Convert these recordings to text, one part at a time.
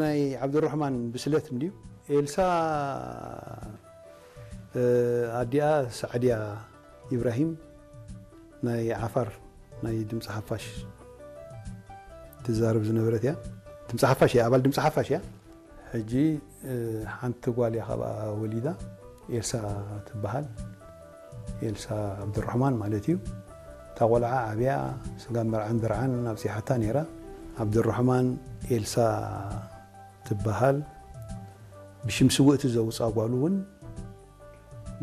ናይ ዓብዱራሕማን ብስለት እንድዩ። ኤልሳ፣ እ፣ ኣዲኣ ሳዕድያ ኢብራሂም ናይ ዓፋር ናይ ድምፂ ሓፋሽ ትዛረብ ዝነበረት እያ። ድምፂ ሓፋሽ እያ፣ ኣባል ድምፂ ሓፋሽ እያ። ሕጂ፣ እ፣ ሓንቲ ጓል እያ ካብኣ ወሊዳ፣ ኤልሳ ትበሃል። ኤልሳ ዓብዱራሕማን ማለት እዩ። እታ ቆልዓ ዓብያ፣ ስጋብ መርዓን ድርዓን ኣብፂሓታ ነይራ። ዓብዱራሕማን ኤልሳ ትበሃል። ብሽም ስውእቲ ዘውፅኣ ጓሉ እውን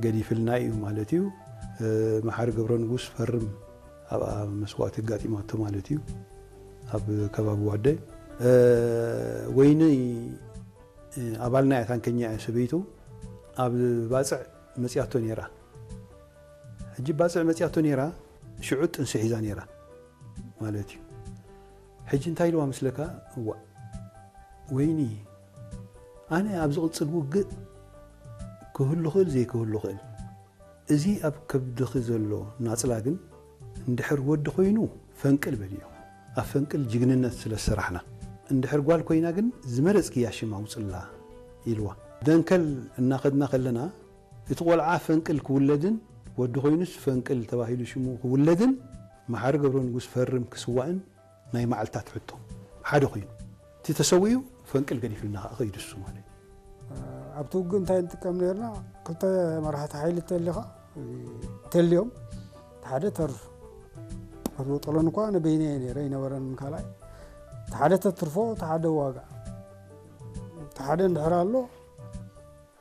ገዲፍልና እዩ ማለት እዩ። እ፣ መሓሪ ገብረ ንጉስ ፈርም ኣብኣ መስዋእቲ ኣጋጢማቶ ማለት እዩ። ኣብ ከባቢ ዋደ፣ እ፣ ወይኒ፣ እ፣ ኣባልና እያ፣ ታንከኛ እያ ሰበይቱ። ኣብ ባፅዕ መፅያቶ ነይራ። ሕጂ ባፅዕ መፅያቶ ነይራ፣ ሽዑ ጥንሲ ሒዛ ነይራ ማለት እዩ። ሕጂ እንታይ ኢልዋ መስለካ? እዋ ወይኒ፣ ኣነ ኣብ ዝቕጽል ውግእ ክህሉ ክእል ዘይክህሉ ክእል፣ እዚ ኣብ ከብድኺ ዘሎ ናጽላ ግን እንድሕር ወዲ ኮይኑ ፈንቅል በልዮ። ኣብ ፈንቅል ጅግንነት ስለ ዝሰራሕና፣ እንድሕር ጓል ኮይና ግን ዝመረጽክያ ሽም ኣውጽላ ኢልዋ። ደንከል እናኸድና ከለና እቲ ቆልዓ ፈንቅል ክውለድን ወዲ ኮይኑስ ፈንቅል ተባሂሉ ሽሙ ክውለድን መሓሪ ገብረ ንጉስ ፈርም ክስዋእን ናይ መዓልታት ሕቶ ሓደ ኮይኑ፣ እቲ ተሰዊኡ ፈንቅል ገዲፍልና ከዓ ከይዱ እሱ ማለት እዩ። ኣብቲ ውግእ እንታይ ንጥቀም ነርና? ክልተ መራሕቲ ሓይሊ ተሊኻ፣ ተልዮም፣ እቲ ሓደ ተርፍ። ኣቶ በጦሎን እኳ ንበይነ እየ ነይረ፣ ኣይነበረን ካልኣይ። እቲ ሓደ ተትርፎ፣ እቲ ሓደ ዋጋ። እቲ ሓደ እንድሕር ኣሎ፣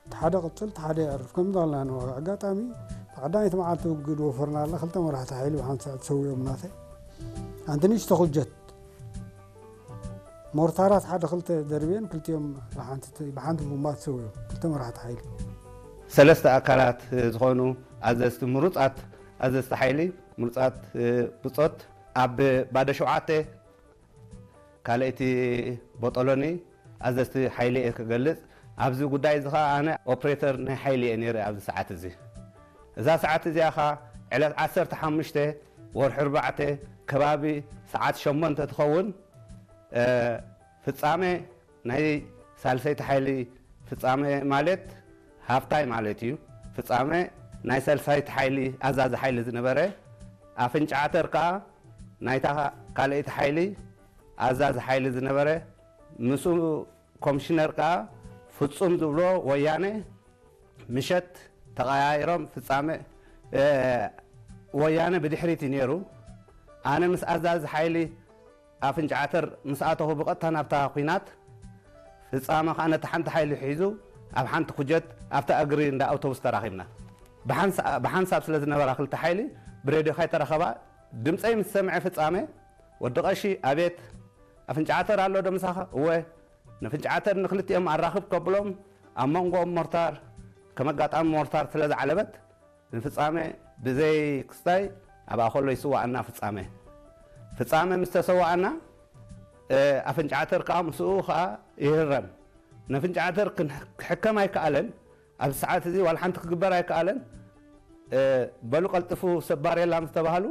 እቲ ሓደ ቅጽል፣ እቲ ሓደ የዕርፍ። ከምዚ ኣልና ንዋጋ። ኣጋጣሚ፣ እቲ ቀዳመይቲ መዓልቲ ውግእ ወፈርና ኣላ፣ ክልተ መራሕቲ ሓይሊ ብሓንሳእ ተሰዊኦም ናተይ። ኣንቲ ንእሽቶ ኩጀት፣ ሞርታራት ሓደ ክልተ ደርብየን፣ ክልቲኦም ብሓንቲ፣ ብሓንቲ ቡምባ ተሰዊኦም፣ ክልተ መራሕቲ ሓይሊ። ሰለስተ ኣካላት ዝኾኑ ኣዘዝቲ፣ ምሩጻት ኣዘዝቲ ሓይሊ፣ ምሩጻት፣ እ፣ ብጾት ኣብ ባዶ ሸውዓተ፣ ካልኣይቲ ቦጦሎኒ ኣዘዝቲ ሓይሊ እየ ክገልጽ። ኣብዚ ጉዳይ እዚ ኸኣ ኣነ ኦፕሬተር ናይ ሓይሊ እየ ነይረ ኣብዚ ሰዓት እዚ። እዛ ሰዓት እዚኣ ኸኣ ዕለት ዓሰርተ ሓሙሽተ ወርሒ ኣርባዕተ ከባቢ ሰዓት ሸሞንተ ትኸውን፣ እ፣ ፍጻመ ናይ ሳልሰይቲ ሓይሊ ፍጻመ ማለት ሃፍታይ ማለት እዩ። ፍጻመ ናይ ሳልሳይቲ ሓይሊ ኣዛዚ ሓይሊ ዝነበረ፣ ኣፍንጫ ዓተር ከኣ ናይታ ካልኣይቲ ሓይሊ ኣዛዚ ሓይሊ ዝነበረ፣ ምስኡ ኮሚሽነር ከኣ ፍጹም ዝብሎ ወያነ ምሸት ተቐያይሮም ፍጻመ፣ እ፣ ወያነ ብድሕሪት እዩ ነይሩ። ኣነ ምስ ኣዛዚ ሓይሊ ኣፍንጫ ዓተር ምስ ኣተኹ ብቐጥታ ናብታ ኲናት ፍጻመ ከኣ ነቲ ሓንቲ ሓይሊ ሒዙ ኣብ ሓንቲ ኩጀት ኣብታ እግሪ እንዳ ኣውቶቡስ ተራኺብና። ብሓንሳ-፣ ብሓንሳብ ስለ ዝነበራ ክልተ ሓይሊ ብሬድዮ ከይተረኸባ ድምፀይ ምስ ሰምዐ ፍጻመ ወዲ ቀሺ ኣቤት ኣፍንጫ ዓተር ኣሎ ዶ ምሳኻ? እወ። ነፍንጫ ዓተር ንክልቲኦም ኣራኽብ ከብሎም ኣብ መንጎኦም ሞርታር ከም ኣጋጣሚ ሞርታር ስለ ዝዓለበት ንፍጻመ ብዘይ ክስታይ ኣብኣ ከሎ ይስዋኣና ፍጻመ። ፍጻመ ምስ ተሰዋኣና፣ እ፣ ኣፍንጫ ዓተር ከኣ ምስኡ ከኣ ይህረም። ነፍንጫ ዓተር ክን-፣ ክሕከም ኣይከኣለን። ኣብዚ ሰዓት እዚ ዋላ ሓንቲ ክግበር ኣይከኣለን። እ፣ በሉ ቀልጥፉ ሰብ ባሬላ ምስ ተባህሉ፣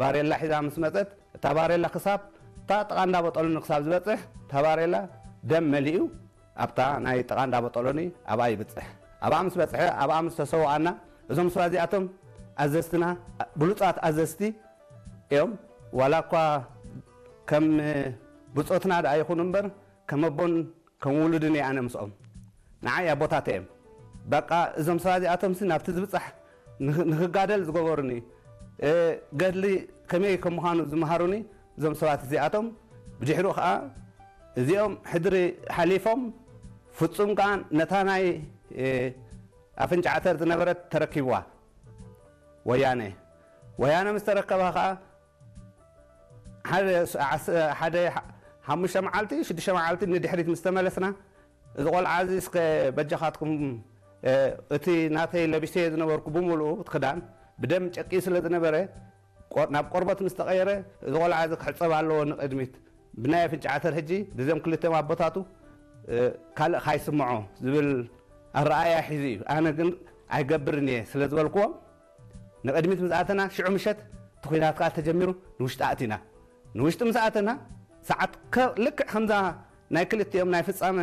ባሬላ ሒዛ ምስ መጸት፣ እታ ባሬላ ክሳብ እታ ጥቓ እንዳ በጠሉኒ ክሳብ ዝበጽሕ፣ እታ ባሬላ ደም መሊኡ ኣብታ ናይ ጥቓ እንዳ በጠሎኒ ኣብኣ ይብጽሕ። ኣብኣ ምስ በጽሐ፣ ኣብኣ ምስ ተሰውኣና፣ እዞም ሰባት እዚኣቶም ኣዘዝትና፣ ብሉጻት ኣዘዝቲ እዮም። ዋላ እኳ ከም ብጾትና ደኣ ይኹኑ እምበር፣ ከም ኣቦን ከም ውሉድን እየ ኣነ ምስኦም። ንዓይ ኣቦታተይ እዮም። በቃ እዞም ሰባት እዚኣቶምሲ ናብቲ ዝብጻሕ ንኽ-፣ ንኽጋደል ዝገበሩኒ፣ እ፣ ገድሊ ከመይ ከም ምዃኑ ዝመሃሩኒ እዞም ሰባት እዚኣቶም። ብድሕሪኡ ኸኣ እዚኦም ሕድሪ ሓሊፎም ፍጹም ከኣ ነታ ናይ፣ እ፣ ኣፍንጫ ዓተር ዝነበረት ተረኪብዋ ወያነ። ወያነ ምስ ተረከባ ኸኣ ሓደ ስ-፣ ዓስ-፣ ሓደ ሓ-፣ ሓሙሽተ መዓልቲ፣ ሽዱሽተ መዓልቲ ንድሕሪት ምስ ተመለስና፣ እዚ ቆልዓ እዚ እስከ በጃኻትኩም፣ እ፣ እቲ ናተይ ለቢሰዮ ዝነበርኩ ብምሉኡ እቲ ክዳን ብደም ጨቅዩ ስለ ዝነበረ፣ ቆ-፣ ናብ ቆርበት ምስ ተቐየረ፣ እዚ ቆልዓ እዚ ክሕጸብ ኣለዎ ንቕድሚት። ብናይ ኣፍንጫ ዓተር ሕጂ፣ ብዞም ክልተ ኣቦታቱ፣ እ፣ ካልእ ካይስምዖ ዝብል ኣረኣእያ ሒዙ እዩ። ኣነ ግን ኣይገብርን እየ ስለ ዝበልክዎም፣ ንቕድሚት ምስ ኣተና፣ ሽዑ ምሸት እቲ ኲናት ከኣ ተጀሚሩ፣ ንውሽጢ ኣእቲና። ንውሽጢ ምስ ኣተና፣ ሰዓት ከ-፣ ልክዕ ከምዛ ናይ ክልቲኦም ናይ ፍጻመን